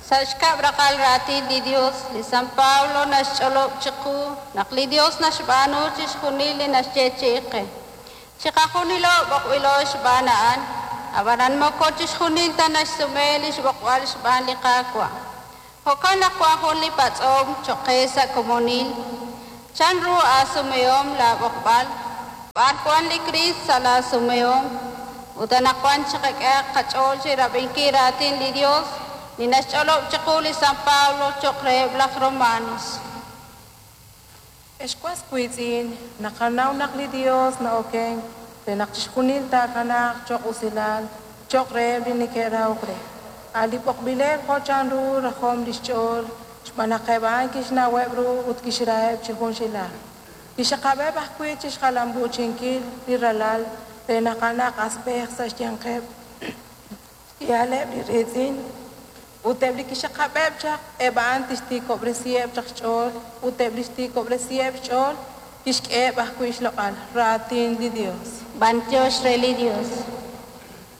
Sa' xkab' raqal raatin li Dios, li San Pablo naxch'olob' chiqu naq li Dios naxb'aanu chixjunil li naxyeechi'i qe. Chiqajunilo b'oqb'ilo xb'aan a'an, ab'anan moko chixjunil ta naxsume lix b'oqb'al xb'aan li Qaawa'. Jo'kan naq wan jun li patz'om choq' qe sa' komonil, Chan ru aasumehom laa b'oqb'al? B'ar wan li Kriist sa' laa sumehom? Ut anaqwan chiqak'ehaq qach'ool chi rab'inkil raatin li Dios li naxch'olob' chiqu li San Pablo choq' reheb' laj Romanos. Ex was wiitz'in, naqanaw naq li Yos na'okenk re naq chixjunil taakanaaq cho'q usilal cho'q reheb' li neke'rahok re, a' li b'oqb'ileb' jo' chanru rajom li xch'ool, xb'aan naq eb' a'an kixnaweb' ru ut kixraheb' chi junxilaj. Kixxaqab'eb' ajwi' chi xjalam'uuchinkil li Ralal re naq a'anaq asb'ej sa' xyanqeb' xk'ihaleb' li riitz'in. Ut eb' li kixxaqab'eb' chaq, eb' a'an tixtiikob'resiheb' chaq xch'ool, ut eb' li xtiikob'resiheb' xch'ool, tixk'eheb' ajwi' xloq'al. Raatin li Yos. B'antiox re li Dios.